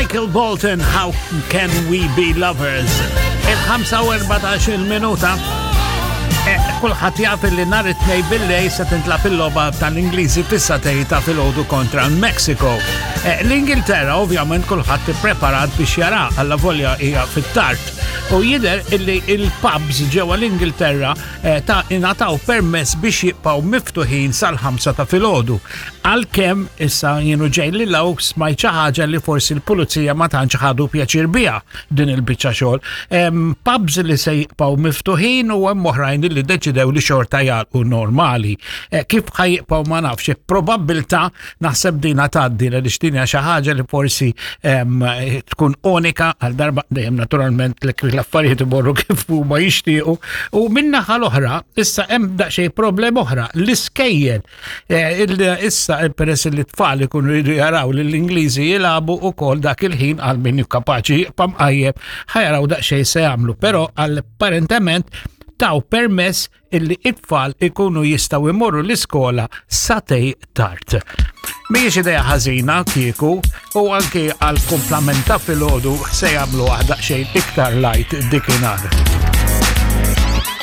Michael Bolton, How Can We Be Lovers? Il-5 minuta. Eh, kulħadd jaf li nhar it-tnej billej se tintlab il-logħba tal-Ingliżi fis-satej ta' filgħodu kontra l-Mexico. Eh, L-Ingilterra ovvjament kulħadd ippreparat biex jara alla volja hija fit-tard. U jidher illi il-pubs ġewwa l-Ingilterra eh, ta' ingħataw permess biex jibqgħu miftuħin sal-5 ta' filgħodu. Għalkemm issa jienu ġej li law smajt xi ħaġa li forsi l-pulizija ma tantx ħadu pjaċir biha din il-biċċa xogħol. Hemm pubs li se jibqgħu miftuħin u hemm oħrajn li deċidew li xorta jagħlqu normali. Eh, kif ħajjibqgħu ma nafx, probabbiltà naħseb dina tgħaddi għaliex din hija xi ħaġa li forsi tkun unika għal darba dejjem naturalment li l-affarijiet imorru kif huma jixtiequ. U min-naħa l-oħra issa hemm daqsxejn problema oħra, l-iskejjel Eh, issa eh, peress li t-tfal ikunu jridu jaraw li l-Ingliżi jilagħbu ukoll dak il-ħin għal min kapaċi jibqa' mqajjeb ħajaraw daqsxejn se jagħmlu, però apparentement taw permess illi it-tfal ikunu jistaw imorru l-iskola satej tard. Mhijiex idea ħażina kieku u anki għal kumplament ta' filgħodu se jagħmlu daqsxejn iktar light dikinhar.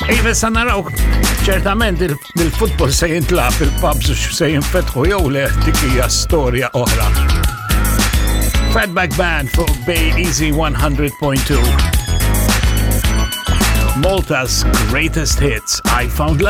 Iva sa naraw ċertament il-futbol se jintlab il-pubs se jinfetħu jew le dik hija storja oħra. Fatback Band fuq Bay Easy 100.2. Malta's greatest hits, I Found Love.